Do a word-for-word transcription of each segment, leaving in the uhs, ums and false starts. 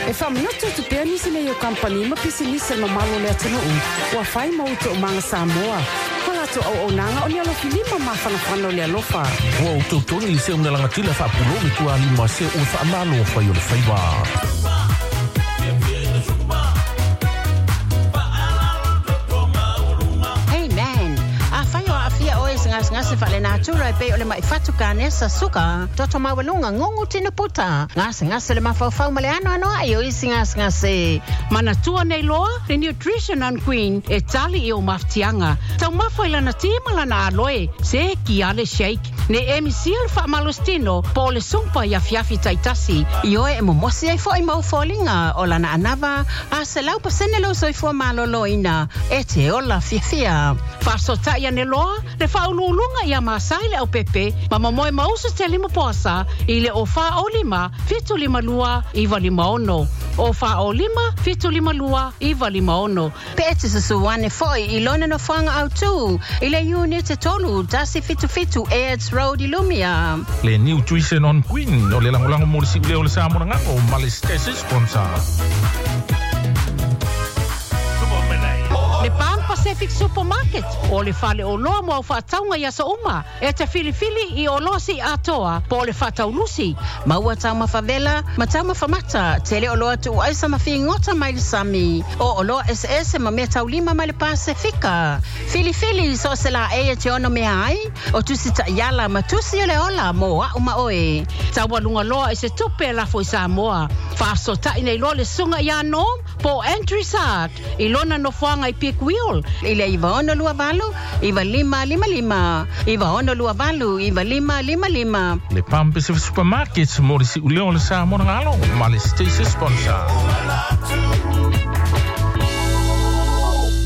E whamanatu tu pea nisi nei o kampani ma pisinisi mamalo le atunuu ua fai ma o toomaga Samoa. Ma latou auaunaga o ni alofilima mafanafana o le alofa. Ua outou toni i se una lagatila faapulou le tualima se ua faamalo fai o le faiva. Hey man, afai o aafia oe i se gasegase faalenatura e pei o le ma'i fatu kanesa suka, toto maualuga, gugu tino puta, gasegase le mafaufau ma le anoanoa'i o isi gasegase. Manatua nei loa le Nutrition on Queen e tali i o mafatiaga. Taumafa i lana ti ma lana aloe, se ki ale shake. Ne emi sia le faamalositino po o le sumpa i afiafi taitasi. Ioe e momosi ai fo'i mau foliga o lana anava a selau pasene lou soifua malōlōina e te ola fiafia. Faasota'i ane loa le faauluuluga ia Masai le aupepe ma mamoe mausu te lima poasa i le o fa o lima fitu lima lua iwa lima ono. O fa o lima fitu lima lua iwa lima ono. Pe e te susu ane fo'i i lona nofoaga autū i le iunite tolu tasi fitu fitu Airds Road i Lumia. Le Nutrition on Queen o le lagolago mo le siulea o le Samoa lagago ma le Stasi sponsor. Le Pan Pacific Supermarket o le fale o loa mo au faatauga i aso uma e te filifili i oloa si atoa po o le faataulusi. Maua taumafa vela ma taumafa mata, tele oloa tuuaisa ma figota mai le sami, o oloa eseese ma mea taulima mai le Pasefika. Filifili so o se laei e te ono mea ai, o tusi ta'iala ma tusi o le ola mo a'u ma oe. Taualuga loa i se tupe e lafo i Samoa. Faasota'i nei loa le susuga ia Norm po o Andrew Sard i lona nofoaga i Peak Wheel. I le iva ono lua valu, iva lima lima lima, iva ono lua valu, iva lima lima lima. Le Pan Pacific Supermarket mo le siulea o le Samoa lagalo ma le Stasi sponsor.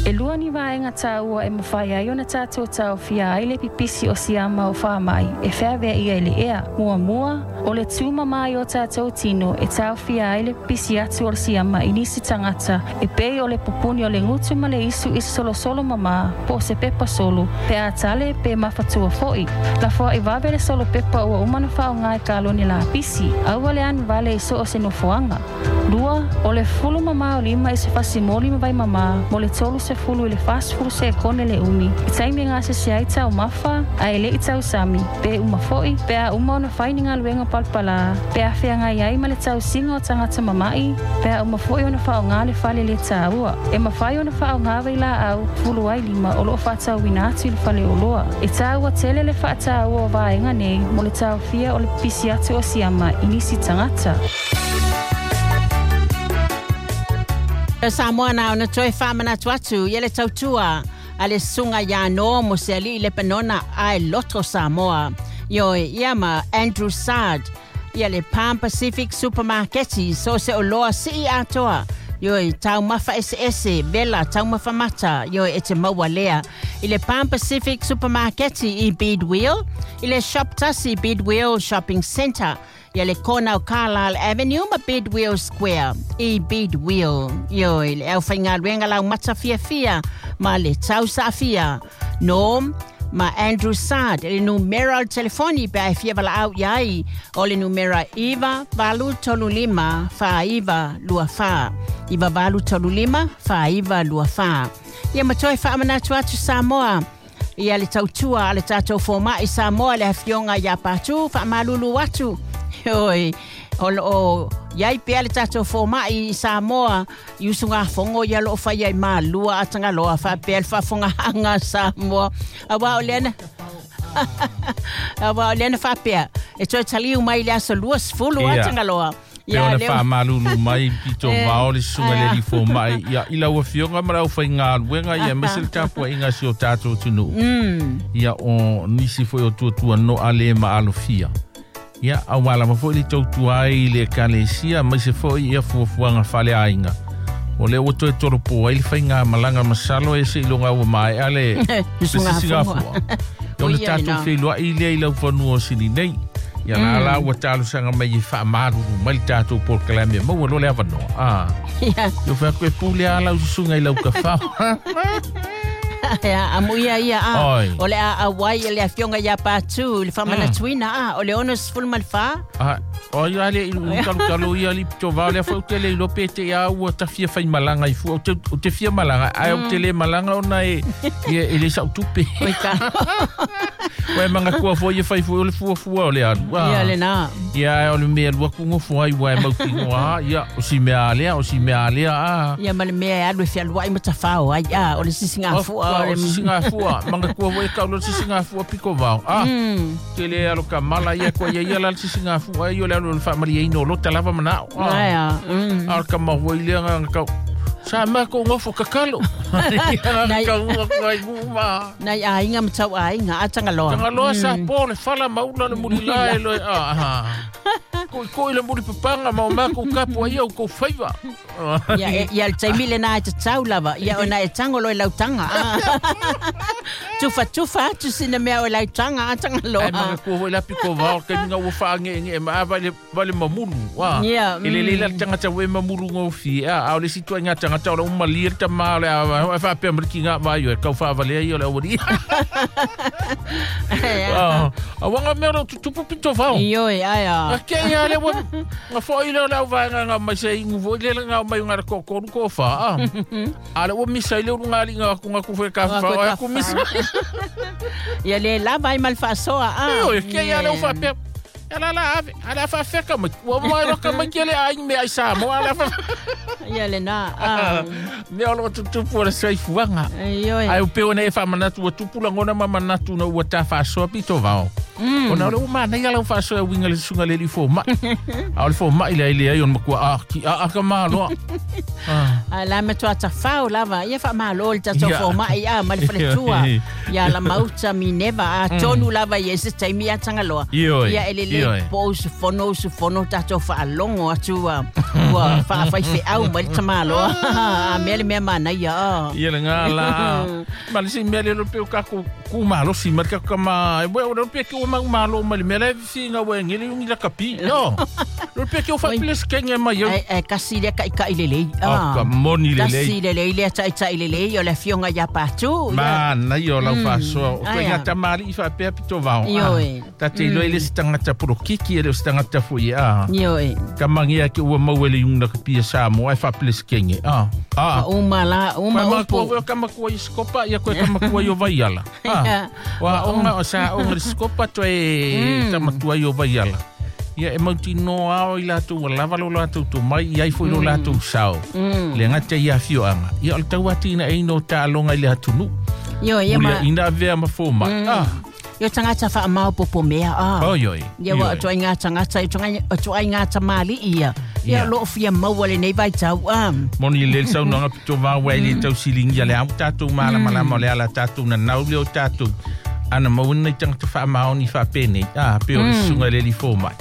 E lua ni vaega taua e mafai ai ona tatou taofia ai le pipisi o siama o faama'i e feaveaʻia i le ea. Muamua, o le tumamā i o tatou tino e taofia ai le pipisi atu o le siama i nisi tagata e pei o le pupuni o le gutu ma le isu i se solosolo mamā po o se pepa solo, pe a tale pe mafatua fo'i. Lafoa'i vave le solo pepa ua uma ona faaaogā i kalone lapisi, aua le anu vale i so o se nofoaga. Lua, o le fulu mamā o lima i se fasimoli ma vai mamā mo le tolu sefulu i le fasefulu sekone le umi. I taimi e gasese ai taumafa, ae le'i tausami, pe uma fo'i, pe a uma ona fai ni galuega palapalā, pe a feagai ai ma le tausiga o tagata mama'i, pe a uma fo'i ona faaaogā le fale le tāua. E mafai ona faaaogā vailaau fulu ai lima o loo faatauina atu i le fale oloa. E tāua tele le faataua o vaega nei mo le taofia o le pipisi atu o siama i nisi tagata. Samoa na ona toe faamanatu atu ia le tautua a le susuga ia Nomo se ali'i Lepanona ae loto Samoa. Ioe ia ma Andrew Sard ia le Palm Pacific Supermarket so se oloa sii atoa. Ioe taumafa eseese, vela taumafa mata, ioe e te maua lea. I le Palm Pacific Supermarket i Bidwell, i le Shop Tasi Bidwell Shopping Centre, ia le kona o Carlisle Avenue ma Bidwell Square i Bidwell. Ioe le aufaigaluega laumata fiafia ma le tausaafia. Norm ma Andrew Sard le numera o le telefoni pe a e fia valaau i ai o le numera iva valu tolu lima fa iva lua fa. Iva valu tolu lima fa iva lua fa. Ia ma toe faamanatu atu Samoa ia le tautua a le tatou foma'i Samoa le afioga ia Patu faamalulu atu. Oi, o loo iai pea le tatou foma'i i Samoa i usugafogo ia loo faia i malua a Tagaloa faapea le faafogaaga Samoa. Auā o lea na auā o lea na faapea e toe taliu mai le aso lua sefulu a Ia. Tagaloa. Pe Ia ona lea faamalulu mai pito Eh, vao le susuga le aia. alii foma'i ia i lau afioga ma lau faigaluega ia aemaise le tapua'iga si o tatou atunuu. Ia o nisi fo'i o tuatua no'a lē maalofia. Ia auā lava fo'i le tautua ai i le ekalesia aemaise fo'i ia fuafuaga faaleaiga. O lea ua toe tolopo ai le faigamalaga masalo e se'iloga ua mae'a le le Susuga sisigafua. Ia ona O ia tatou lena. feiloa'i lea i lau fanua o sili nei. Ia la la ua talosaga mai e faamalulu mai le tatou polokalame maua loa le avanoa. Ah. Ia. Ia fai atu e pule a lau susuga i lau kafao. Ia amu ia ia a Oi. o le a auai le afioga ia Patu le faamanatuina a o le ono sefulu ma le fā. Ah, o ia le i kalu kalu ia li to va le fo te le lo pe te ia ua ta fia fai malanga i fu o te o te fia malanga ai o te le malanga ona e e e le sa tupe. Oi ka. Ué manga kua fo ia fai fu o le fua fua o le alu. Ia le na. Ia o le mea lua kungo fo ai ué mau kingo a ia o si mea alea o si mea alea a. Ia ma le mea e alu e fealuai ma tafao ai a o le sisiga fua o le sisiga fua manga kua fo e kau lo sisiga fua piko vao. Ah. Te le alo ka mala ia kua ia ia la sisiga fua ai o le alu le faamalie ino lo talava manao. Ai a. A ka mahu i le nga kau. Sa ma ko ngofo kakalo. Nai- Ka ua ko ai uma. Nai aiga ma tau aiga a Tagaloa. Tagaloa sa po le fala maula le muri la e lo a ha. Ko ko le muri papanga ma o mako kapu ai au ko faiva. Ia ia le taimi lena e tatau lava. Ia ona e tango lo i lautaga. Tufa tufa atu sina mea o lautaga a Tagaloa. Ai manga ko hoi la piko vao ke minga ua whaange nge ma ava le vale mamulu. Wa. Ia, E le le la tangata we mamulu ngofi. A a o le situa nga tangata o le umali ta ma le a fa pe mriki nga ma yo e kau fa vale ai o le awari. Ah, a wanga mea o tutupu pito vao. Ioe, ai a. A ke ia le wa nga fo ile la va nga nga mai se ingu fo ile nga mai nga ko ko ko fa. Ah. A le o misa ile nga li nga ku nga ku fe ka fa o ku misa. Ia le lava ai mal faasoa a. Io ke ia le fa pe. Ala la ave, ala fa fe ka mai. Wa mai ro ka mai ke le ai me ai sa mo ala fa. Ia le na. Ah. Me o lo tutupu le saifuanga. Ioe. Ai o pe ona e fa manatu o tupu la ngona ma manatu na ua ta faasoa pito vao. Ona o le uma nei ala o faasoa winga le sunga le li fo mai. A o le fo mai le le ai on makua a ki a a ka maloa. A la me tua tafau lava. Ia fa malo le tatou Ia. fo mai a ma le faletua. Ia la mauta mineva a tonu lava ia se taimi a Tagaloa. Ioe. Ia ele le Ioe. po usufono usufono tatou faalogo atu a ua faafaifeau mai le tamaloa. A mea le mea manaia a. Ia le ngā la. Ma le si mea le pe o kako ku malo si ma ka kama e o le pe ke o mau malo ma le mea le fi ngā we ngele ungi la kapi. No. Le pe ke o fa ples kenge mai yo. Ai ai kasi le kai kai lelei. O ka moni lelei. Kasi lelei le tai tai lelei o le afioga ia Patu. Ma na yo lau faasoa. O Ai, koe ngā a. tamari i whapea pito vao. Ioe. Ta te iloi le si tangata purokiki e le o si tangata fui a. Ioe. Ka mangia ke ua mau ele yung nakapia sa mo ai whaples kenge. Ah. Ah. Uma la uma Uma upu. kua ka makua i skopa ia koe ka makua i o vaiala. Ah. Wa onga o sa onga le skopa toe tamatua i o vaiala. Ia e mauti no ao i lātou wa lava lo lātou tō mai i ai fo i lo lātou sao. Le ngata i a fioanga. Ia o le tau ati ina eino tālonga i le hatunu. Ioe ia ma. Mulia ina avea ma fō mai. Ah. Io tangata whaamau popo mea a. Oi oi. Ia wa Ioe. atu ai ngā tangata, atu ai ngā tamali ia. Ia Ia. lo fia maua le nei vai tau a. Moni le sau nanga pito vā wai le tau silingi le au tātou māla malama o le ala tātou na nau le o tātou. Ana mauna i tangata whaamaoni whaapene. Ah, pe o le sunga le li fō mai.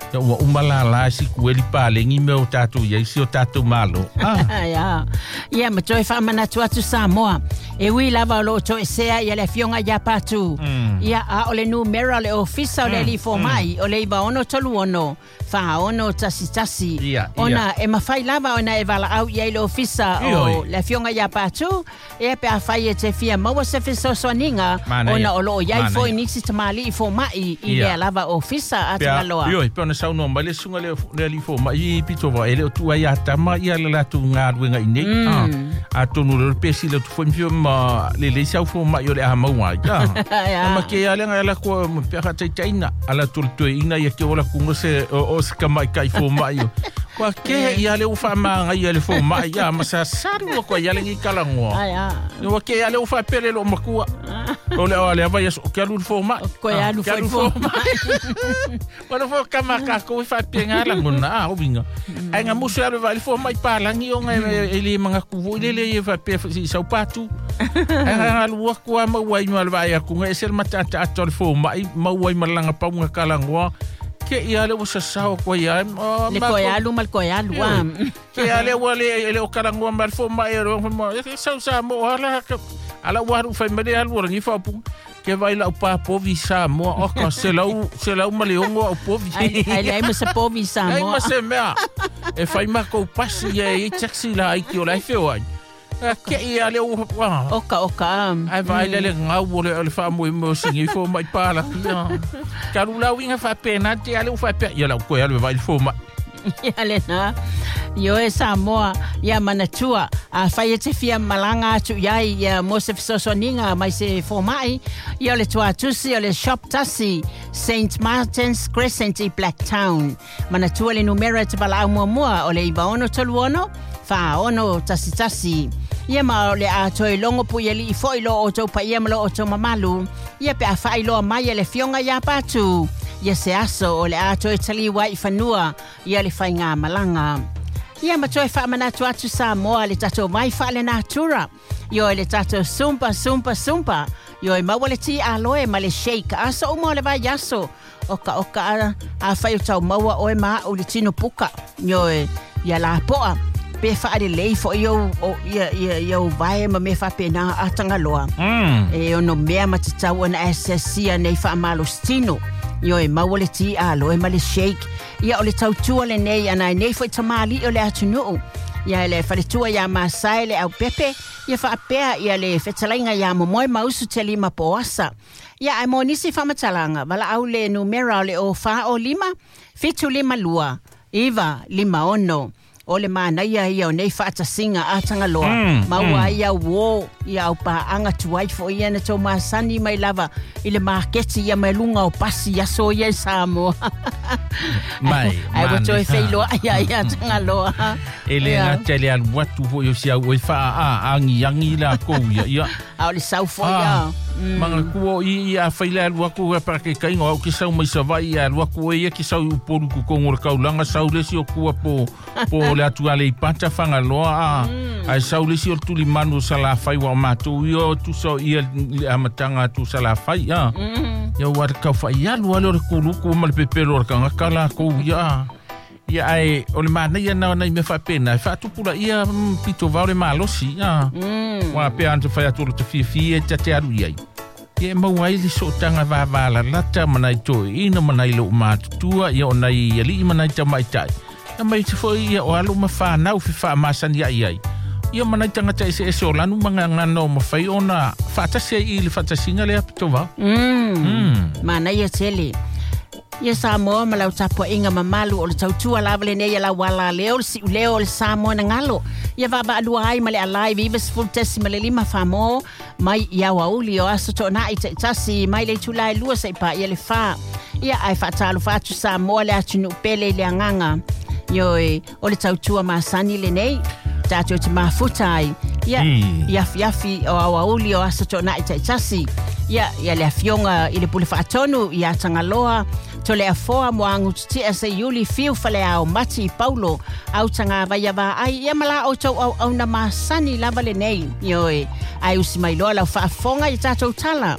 Ia ua umala la si kueli pālengi me o tātou ia isi o tātou malo. Ah, Ia. Ia ma toe whaamanatu atu Samoa. E ui lava o lo toe sea ia le afioga ia Patu. Ia a o le numera o le ofisa o le li fō mai o le iwa ono tolu ono. Whaono tasi tasi. Ia, ia. Ona e mawhai lava ona e wala au ia i le ofisa o Ioi. le afioga ia Patu. E pe a whai e te fia maua se fesoasoaniga Mana ona ia. o loo iai Mana fo ia. i nisi tamali i fō mai i Ia. lea lava ofisa a pea, Tagaloa. ioi, pe ona saunoa mai le sunga le, le li fō mai i pito vā, e le o tua ia tama ia le lātou ngā ruenga i nei. Ah, a tonu le pesi le tu fo mfio ma le le sau fō mai o le aha maua ai. Ah. Ia. Ma ke ale ngai la ko mo pe ha tai taina ala tu tu ina ia ke ola kungo se o o se ka mai kai fo mai. Kwa ke ia le ufa ma ngai ia le fo mai ia ma sa saru ko ia le ngi kala ngoa. Ai a. Wa ke ia le ufa pele lo makua. O le o le va ia o ke alu fo mai. Ko ia alu Ke alu fo fo mai. Wa fo ka ma ka ko fa pe ngala ngona a o winga. Ai nga musu alu va le fo mai pa langi o ngai e le manga ku vo le le ia fa pe si sau patu. Ai nga alu wa ku ma wa i ma va ia ku ngai sel mata ta ato le fo mai ma wa i malanga pa nga kala ngoa. Ke ia le o sa sao ko ia. Le koe alu ma le koe alu a. Ke ia le wa le le o kala ngoa ma le fo mai o mo sau sa mo ala ka ala wa ru fai mele alu rangi fa pu ke vai la pa povi sa mo o ka se lau se lau ma le ongo o povi. Ai ai le ai ma se povi Ai Samoa. ma se mea. E fai ma kou pasi ia e taxi la ai ki o lai feo ai. Ke ia le o oka oka ai vai le le ngau o le o le fa mo mo singi fo mai pala ia kalu lau inga fa pena te ale o fa pe ia lau ko ale vai fo mai ia le na yo e Samoa ia manatua a fai e te fia malanga atu iai ia mo se fesoasoaniga mai se fomai ia o le tuatusi o le shop tasi Saint Martin's Crescent i Blacktown manatua le numera e te valaau muamua o le iva ono tolu ono fa ono tasi tasi ia ma o le a toe longo pu ia lii foi lo o tau paia ma lo o tau mamalu ia pe a whailoa mai le fionga ia patu ia se aso o le a toe taliwa i fanua ia le whainga malanga ia ma toe whaamanatu atu Samoa le tatou mai whaale natura io le tatou sumpa sumpa sumpa io e maua le ti aloe ma le shake aso uma o le vai aso oka oka a, a whai o tau maua oe maa o le tino puka io e ia la poa pe whaare lei fo i o ia ia ia o vai ma me whapena a tangaloa. Mm. E ono mea matatau ana asasia nei whaamalostino. Io e maua le ti aloe ma le shake. Ia o le tautua le nei ana nei fo i tamali o le atunuu. Ia le whaletua ia Masai le au pepe. Ia whaapea ia le whetalainga ia momoe mausu te lima poasa. Ia ai mo nisi whamatalanga. Wala au le numera o le o wha o lima. Fitu lima lua. Iwa lima ono. O le manaia ia o nei whaatasinga a tangaloa. Mm, Maua mm. ia wo ia au paanga tuai fo ia na tau masani mai lava i le maketi ia mai lunga o pasi ia so ia i Samoa. Mai, Ai wa toe mani. whailoa ia ia tangaloa. E le Ia. ngā tele alu atu fo i o si au oi wha a angi angi la kou ia. Ia. A o le sau fo Ah, ia. Manga kua i i a whaile alu aku a para ke kainga au ki sau mai savai i alu aku e ia ki sau i upolu ku kongo le kaulanga sau lesi o kua po po le atu ale i pata whangaloa a ai sau lesi o tuli manu sa la whai wa mātou ia o tu sau ia le amatanga atu sa la whai a ia ua te kau whai alu ale o le kuluku ma le pepelo o le kangaka la kou ia ia ai o le mana ia nā nei me whapena e whaatupula ia mm, pito vau le malosi ia Mm. Wa pe anta whai atu o te whiawhi e te te aru iai. Ia e mau ai li so tanga vāvāla lata manai toi ina manai lo mātutua ia o nai ali manai ta mai tai. Ia mai te foi ia o alu ma whanau fi wha masani ai ai. Ia manai tangata ese ese o lanu manga ngano ma whai ona whaatasi ai i le whaatasinga le apito vau. Mm. Mm. Manaia tele. Ia Samoa ma lau tapuaʻiga mamalu o le tautua lava lenei ia lau alaleo le siʻuleo o le Samoa na galo. Ia vaavaalua ai ma le alai viva sefulu tasi ma le lima famo mai i auauli o aso toʻonaʻi taʻitasi mai le itulā e lua saʻi paʻia le fā. Ia ae faatalofa atu Samoa le atunuu pele i le agaga. Ioe o le tautua masani lenei tatou te mafuta ai. Ia Mm. i afiafi o auauli o aso toʻonaʻi taʻitasi. Ia ia le afioga i le pule faatonu ia Tagaloa tole afoa mo agututia se iuli fiu faleao mati i Paulo au tagavaia vaai ia ma la outou auauna masani lava lenei ioe ae usi mai loa lau faafofoga i tatou tala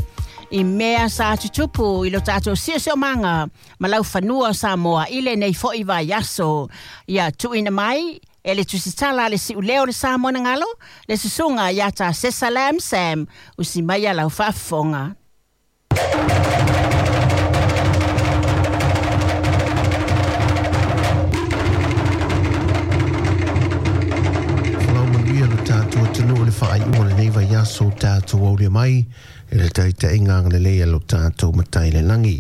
i mea sa tutupu i lo tatou siosiomaga ma lau fanua o Samoa i lenei foʻi vaiaso ia tuuina mai e le tusitala a le siʻuleo le Samoa na galo le susuga ia Tasesa Lam Sam usi mai ia lau faafofoga. Whalau manuia lo tātou tanu o le whaai o le nei vai aso tātou au le mai e le taita inga le lea lo tātou matai le langi.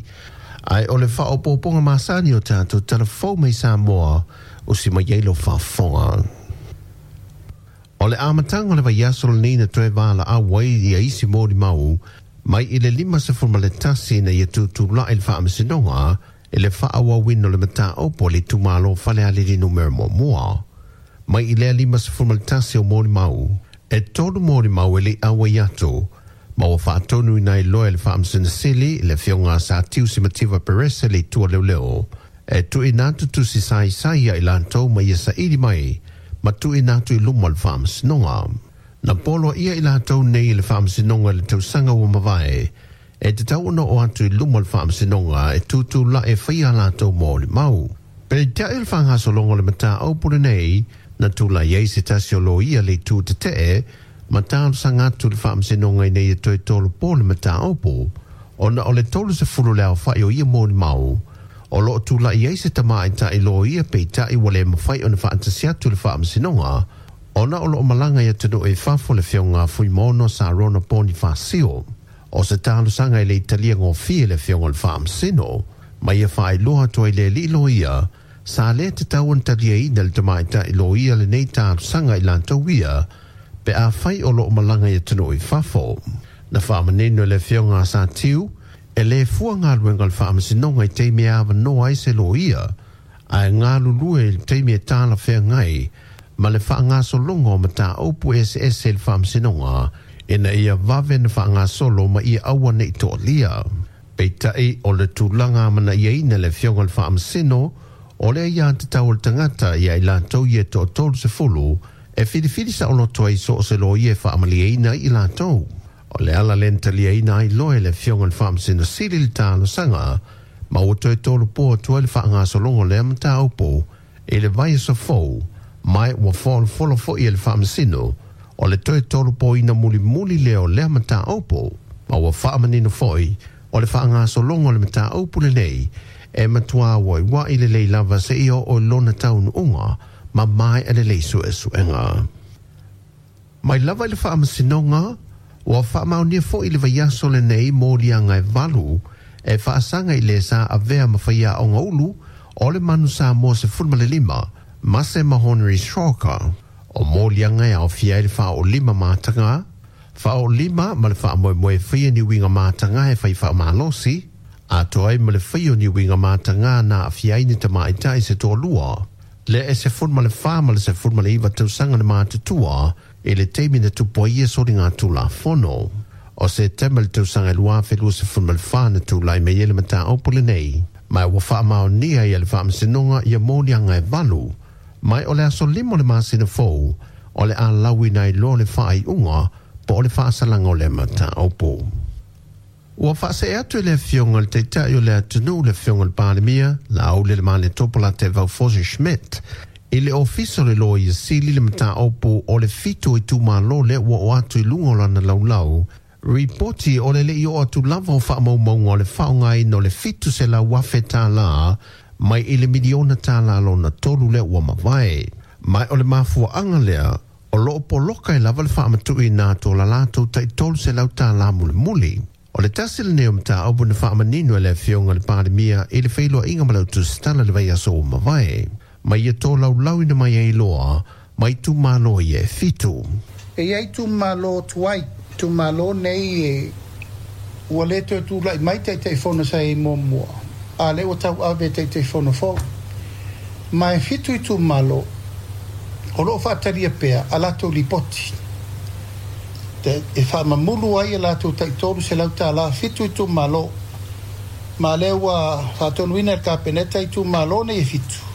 Ai o le whaopoponga masani o tātou tala fou mai Samoa o si mai ei lo whafonga. O le amatanga o le vai aso le nei na toe wāla a wai ia isi mōri mau mai i le lima se fuma le tasi na ia tūtū la i le whaamasinonga e le whaawawin o le mata opo le tumalo whale alili numero mua mua. Mai i lea lima se fuma le tasi o mōri mau. E tolu mōri mau e le awa i atu. Ma ua whaatonu i nai loe le whaamasinasili le fionga sa tiu si mativa perese le tua leo leo. E tu i natu tu si sai sai ia i lantou mai ia saili mai. Ma tu i natu i luma le whaamasinonga. Na polo ia i lantou nei le whaamasinonga le tausanga ua mavae. E te tau ono o atu i luma le whaamasinonga e tūtū la e whaia lantou mō le mau. Pe te le whangasolongo le mata au pule nei, na tū la iei se tasi o lo ia le tū te tee, ma tālu sangatu le whaamasinonga i nei e toi tolu pō le mata aupo. Ona o le tolu se fulu leo whai o ia mō le mau. O loo tū la iei se tama i tai lo ia pe tai wale mawhai o na whaantasi atu le whaamasinonga, Ona o loo malaga i atunuu i fafo le Afioga Fuimaono Sarona Ponifasio. O se talosaga i le italia gofie le Afioga o le Faamasino, ma ia faailoa atu ai le alii loia, sa lē tatau ona taliaina le tamaitai loia lenei talosaga i latou ia, pe afai o loo malaga i atunuu i fafo. Na faamanino e le Afioga a Satiu, e lē fua galuega o le Faamasinoga i taimi e avanoa ai se loia, ae galulue i le taimi e talafeagai ma le faagasologa o mataupu eseese i le Faamasinoga, ina ia vave na faagasolo ma ia aua nei toalia. Peitai o le tulaga amanaiaina le Afioga o le Faamasino, o le aiā tatau o le tagata ia i latou ia toatolu sefulu e filifili saoloto ai so o se loia e faamalieina ai i latou. O le ala lea na taliaina ai loa e le Afioga o le Faamasino Sili le talosaga, ma ua toe tolopo atu ai le faagasologa o lea mataupu i le vaiaso fou, mai ua folofolo foi e le Faamasino o le toe tolopoina mulimuli lea o lea mataupu, ma ua faamanino foi o le faagasologa o le mataupu lenei e matuā ua'iua'i lelei lava seia oo i lona taunuuga ma maea lelei suesuega. Mai lava i le Faamasinoga, ua faamaonia foi le vaiaso lenei moliaga e valu e faasaga i le sa avea ma faiaoga ulu o le Manu Samoa sefulu ma le lima, Mase ma Henry Stroker. O moliaga e aofia ai le faaoolima mataga, faaoolima ma le faamoemoe e faia ni uiga mataga e fai faamalosi, atoa ai ma le faia o ni uiga mataga na aafia ai ni tamaitai se toalua, lea e sefulu ma le fa ma le sefulu ma le iva tausaga le matutua i le taimi na tupu ai ia soligatulafono. O Setema le tausaga e lua afe luasefulu ma le fa na tulai mai ai le mataupu lenei, ma ua faamaonia ia le Faamasinoga ia moliaga e valu, mai o le aso lima o le masina fou o le a lauina ai loa le faaiuga po o le faasalaga o le mataupu. Ua faasee atu e le Afioga i le Taitai o le atunuu le Afioga i le Palemia, Laaulialemalietopo Latevau Fosi Schmidt, i le Ofisa o le Loia Sili le mataupu o le fitu o itumalo lea ua oo atu i luga o lana laulau, ripoti o le le'i oo atu lava o faamaumauga o le faaaogaina o le fitu selau afe tālā mai i le miliona tālā lona tolu lea ua mavae. Mai o le mafuaaga lea, o loo poloka e lava le faamatuuina atu o la latou taʻi tolu selau tālā mulimuli. O le tasi lenei o mataupu na faamanino e le Afioga i le Palemia i le feiloaiga ma le autusitala le vaiaso ua mavae, ma ia tolaulauina mai ai loa ma itumalo ia e fitu. E iai itumalo tuai, itumalo nei e ua lē toe tula'i mai taitaifono sa iai muamua, a lea ua tauave e taitaifono fou. Ma e fitu itumalo o loo faatalia pea a latou lipoti e faamamulu ai e latou taʻi selau tālā fitu itumalo. Ma lea ua faatonuina e le Kapeneta itumalo nei e fitu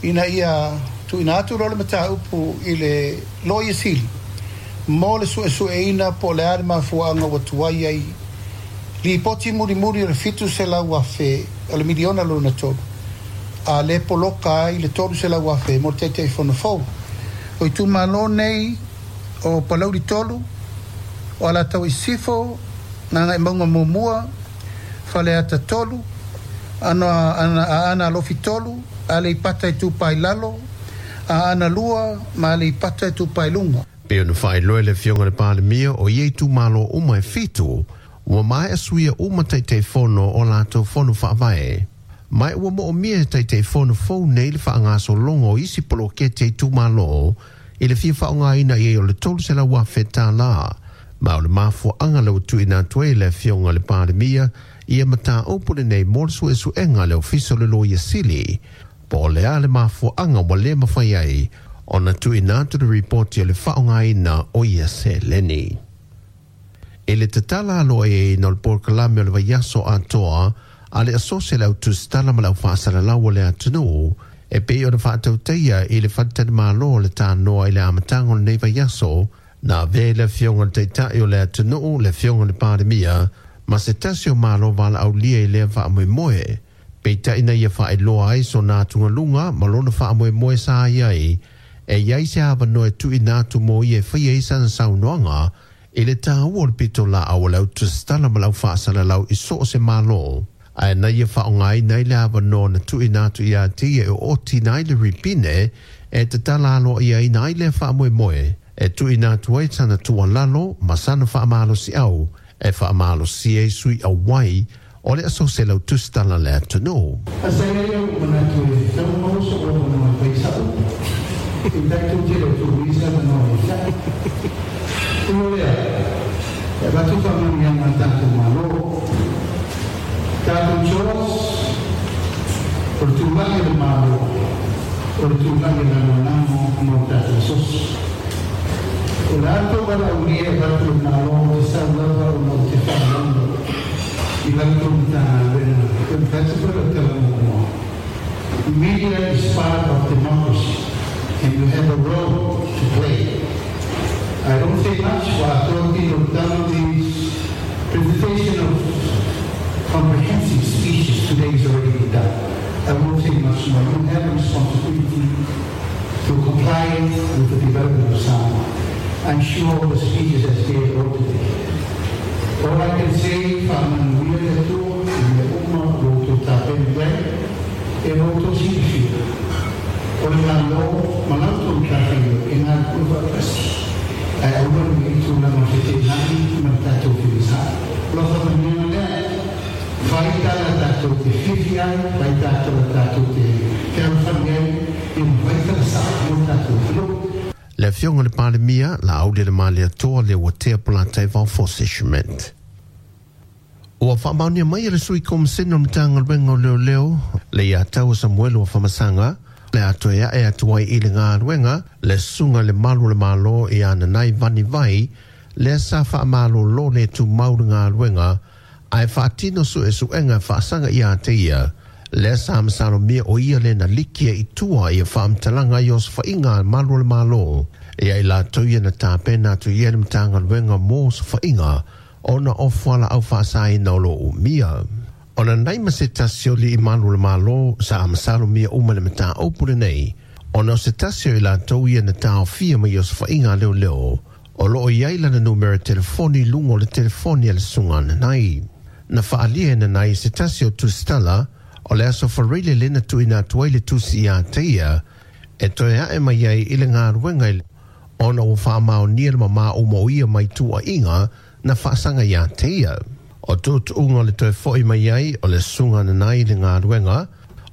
ina ia tuuina atu loa le mataupu i le Loia Sili mo le suesueina po o le a le mafuaaga ua tuai ai lipoti mulimuli o le fitu selau afe o le miliona lona tolu a lē poloka ai le tolu selau afe mo le taitaifono fou. O itumalo nei o Palauli tolu, o Alataua Isifo, Gagaemauga muamua, Faleata tolu, ana, ana, Aana Alofi tolu, Aleipata Itupa i Lalo, Aana lua ma Aleipata Itupa i Luga. Pei ona faailoa e le Afioga i le Palemia o ia itumalo uma e fitu, ua maea suia uma taitaifono o latou fono faavae. Mai ua moomia e taitaifono fou nei le faagasologa o isi poloketi a itumalo i le fia faaaogaina i ai o le tolu selau afe tālā. Ma o le mafuaaga lea ua tuuina atu ai e le Afioga i le Palemia ia mataupu lenei mo le suesuega a le Ofisa o le Loia Sili, po o le a le mafuaaga ua lē mafai ai ona tuuina atu le ripoti o le faaaogaina o ia seleni. I le tatala aloaiaina o le polokalame o le vaiaso atoa a le Asosi a le Au Tusitala ma le Au Faasalalau o le atunuu e pei ona faatautaia i le faletalimalo o le Tanoa i le amataga o lenei vaiaso, na avea i le Afioga i le Taitai o le atunuu le Afioga i le Palemia ma se tasi o malo valaaulia i lea faamoemoe. Peitai na ia faailoa ai sona atugaluga ma lona faamoemoe sa i ai e iai se avanoa e tuuina atu mo ia e faia ai sana saunoaga i le tāua o le pitolaau a le Au Tusitala ma le Au Faasalalau i so o se malo. Ae na ia whaongai nei le awa noa na tuina atu ia te ia e oti nai le ripine e te tala alo ia i nai le wha moe moe. E tuina atu ai sana tualalo ma sana whaamalo si au e whaamalo si e sui a wai o le aso se lau tustala le atunu. Asa ia au manatu e tau mauso o manoa e paisau. I tatou te leo tuuisa manoa e sa. Ulo lea, e vatu whamanianga tātou malo. Tātou chos, o le tūlagi le malo, o le tūlagi le lanolamo mo tātou sos. O le ato wala unia e vatu le malo o te saulava o mo te whaalondo. I lanto mtana wena, o te whatu o te lamomoa. Media is part of democracy, and you have a role to play. I don't say much while talking of Donald's presentation of comprehensive speeches today is already been done. I won't say much more. You have a responsibility to comply with the development of Samoa. I'm sure all the speeches as they wrote today. All I can say, whaamanuia le Atua, i mea uma o outou tapena iai, e o outou silafia. O le malo, ma lau tou tafaioi, e ngā kua whaapasi. Ai aua ni i tūlanga fetenai ma le tātou whirisa. Lo whamanianga lea, whai tala tātou te whiwhi ai, whai tātou tātou te whiawhani ai, e whai tala sa mo tātou whiro. Le afioga le Palemia, la au le male atoa le ua tea polatai vao fose Schmidt. Ua whaamaunia mai le sui komisena o Matagaluega o Leoleo, le ia tau Samuel o Whamasanga, le atoa e e atu ai i le ngāluenga, le sunga le malu le malo i ana nai vani vai, le sa whaamalo lo le tu mau le ngāluenga, ai whaatino su e suenga whaasanga i a te ia. Le sa masalo mea o ia le na likia i tua i a whaamtalanga i os whainga malu le malo. E ai la tau ia na tāpena atu ia le Matagaluega mō sa whainga, ona o whala au whaasai na o lo umia. Ona nai ma se tasi o li i malu le malo sa amasalo mea uma le mata opule nei. Ona o se tasi o i la tau ia na tāofia mai o sa whainga leo leo. O loo iai lana numera telefoni lungo le telefoni a le sunga na nai. Na whaalia na nai se tasi o tustala o le aso whareile lena tuina atu ai le tusi i a teia e toe ae mai ai i le ngāruenga i ona o whaamao nia le mama o mo ia mai tua inga na whaasanga i a teia. O tūtuunga le toe foi mai ai o le sunga na nai le ngāruenga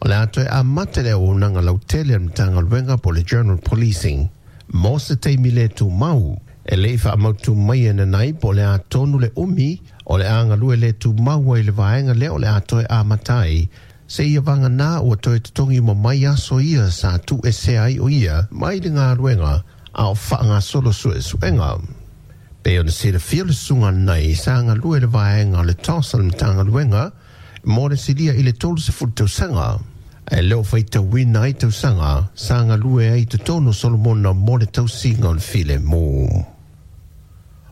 o le atoe a mate le o nanga lautele mtanga po le General Policing. Mo se teimi le tū mau e le wha mautu mai e na nai po le a tonu le umi o le anga lue le tū mau ai le vaenga le o le atoe a matai. Se ia vanga nā ua toe totongi mo mai aso ia sa tu e se ai o ia mai le ngāruenga a o whaanga solo su e suenga. Pe o na se le fia le sunga nei sa ngā lue le vaenga o le tosa le mtanga luenga mo le silia i le tolu se futu tausanga. E leo whai tauina ai tausanga sa ngā lue ai te tono Solomona mo le tausinga o le file mō.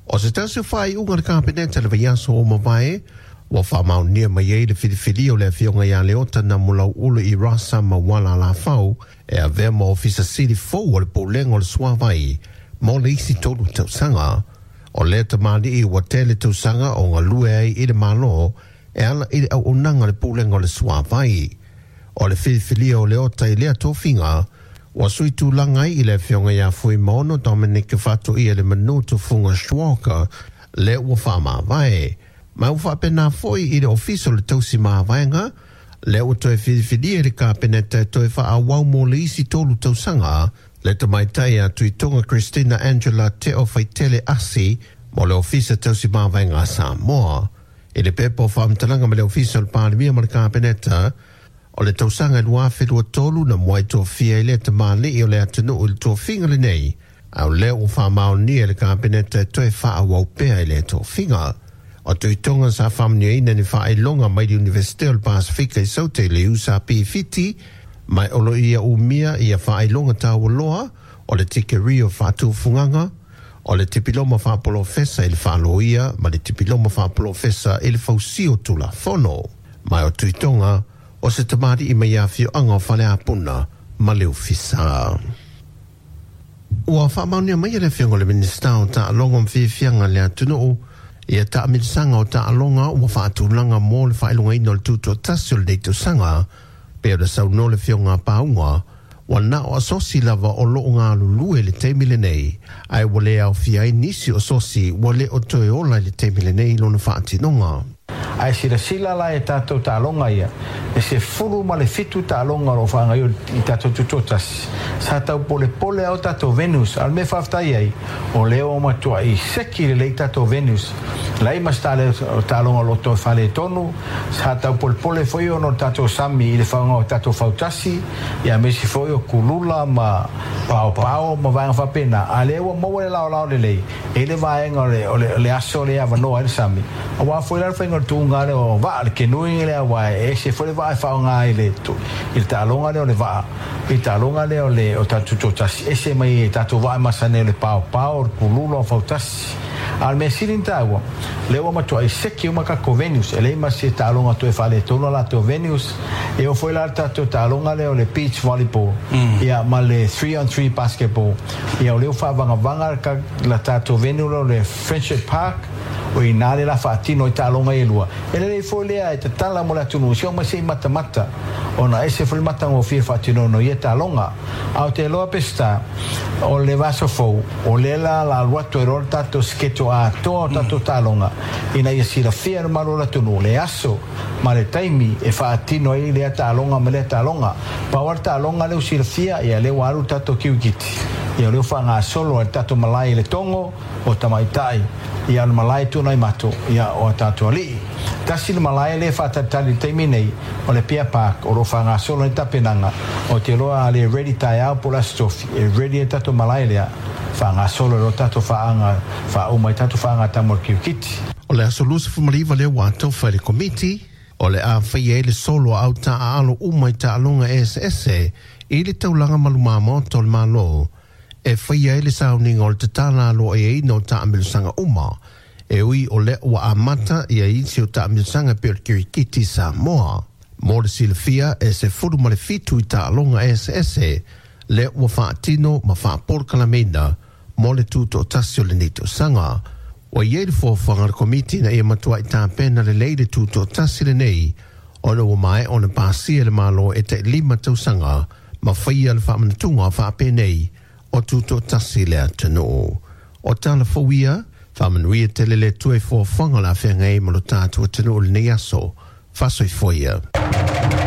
O se tasi o whai unga le kapeneta le vaiaso o mavae, ua whaamaunia mai ai le whiriwhiri o le afioga ia Leota na mulau ulu i rasa ma wala la fau e avea ma ofisa sili fou o le poulenga o le suavai mo le isi tolu tausanga. O le tamali i ua tele tausanga o ngā lue ai i le malo e ala i le au onanga le poulenga o le suavai. O le whiriwhiria o Leota i lea tofinga ua sui tūlanga ai i le afioga ia Fuimaono Dominic Fato ia le manu tufunga Schwalker le ua whaamavae. Ma ua whaapena foi i le ofiso le tausi maavaenga, le ua toe whiriwhiria le kapeneta e toe whaawau mo le isi tolu tausanga, le tamaitai a Tuitonga Christina Angela Te o Whaitele Asi mo le ofisa tausi maavaenga a Samoa. I le pepo whaamtalanga ma le ofisa o le Palemia ma le kapeneta, o le tausanga e luafe lua tolu na muai tōfia i le tamali i o le atunuu i le tōfinga le nei, au lea ua whaamaonia le kapeneta e toe whaawau pea i le tōfinga. O Tuitonga sa whamniaina ni whaelonga mai le Universite o le Pasifika i Saute le usa P whiti, mai olo ia umia ia whaelonga taualoa o le tikerio whaatufunganga, o le tipiloma whaapolofesa i le whaaloia ma le tipiloma whaapolofesa i le fausio tula fono. Mai o Tuitonga o se tamari i mai awhio anga o whaleapuna ma le ofisa. Ua whaamaunia mai le whiongo le Minista o ta alongo mwhiwhianga le atunuu Ia taamilosaga o taaloga ua faatulaga mo le faailogaina o le tutoatasi o lenei tausaga pe o le saunoa le Afioga a Pauga ua na o asosi lava o loo galulue le taimi lenei ae ua le aofia ai nisi o asosi ua le o toe ola i le taimi lenei lona faatinoga. Ae silasila la e tatou taaloga ia e se fulu ma le fitu taaloga o loo faagaio i tatou tutoatasi sa tau polepole ao tatou venues a o le mea faafetai ai o lea ua matuai seki lelei tatou venues lai ma se taaloga o loo toe faaletonu sa tau polepole foi ona o le tatou sami i le faaaoga o tatou fautasi ia aemaise foi o kulula ma paopao ma vaega faapena a lea ua maua le laolao lelei e le vaega o le, o le, le aso le avanoa ai le sami auā foi la le faiga o le tuuga lea o vaa le kenui lea ua e ese foi le vaa e faaaoga i le i le taaloga lea o le vaa i le taaloga lea o le o tatou tutoatasi ese mai e tatou vaa e masani o le paopao o le kulula o fautasi a o le mea sili ona taua lea ua matuai seki uma tatou venues e leai ma se taaloga toe faaletonu a latou venues e oo foi la le tatou taaloga lea o le beach volleyball ia ma le three on three basketball ia o lea ua faavagavaga la tatou venue lea o le Friendship Park o ina le la faatino i taaloga ia e lua e lelei foi lea e tatala mo le atunuu se oo mai se i matamata ona ese foi le matagofie faatinoina o ia taaloga a o te iloa Peseta o le vaiaso fou o lea la la alu atu ai loa le tatou schedule atoa o tatou taaloga ina ia silafia e le mamalu o le atunuu le aso ma le taimi e faatino ai lea taaloga ma lea taaloga pau lava le taaloga lea ua silafia ia lea ua alu le tatou kirikiti ia o lea ua faagasolo ai le tatou malae i le Togo o tamaitai ia o le malae Tuanaimato ia o a tatou alii tasi le malae lea e faatalitali i le taimi nei o le Apia Park o loo faagasolo ai le tapenaga o te iloa a le ready taeao po o le Aso Tofi e ready ai le tatou malae lea faagasolo ai loa tatou faaaga faauma ai tatou faagatama o le kirikiti. O le aso luasefulumalima lea ua atofa e le Komiti o le a faia ai le solo a au taaalo uma i taaloga eseese i le taulaga ma luma maota o le Malo e faia ai le sauniga o le tatala aloaiaina o taamilosaga uma e ui o lea ua amata ia isi o taamilosaga pei o le kirikiti Samoa. Mo le silafia e sefulu ma le fitu i taaloga eseese lea ua faatino ma faapolokalameina mo le tutoatasi o lenei tausaga. Ua i ai le fuafuaga a le Komiti ina ia matuai tapena lelei le tutoatasi lenei ona ua maea ona pasia e le Malo e tailima tausaga ma faia le faamanatuga faapenei o tutoatasi le atunuu. O tala fou ia, faamanuia tele le Atua i fuafuaga o le a feagai ai ma lo tatou atunuu i lenei aso. Faasoifua ia.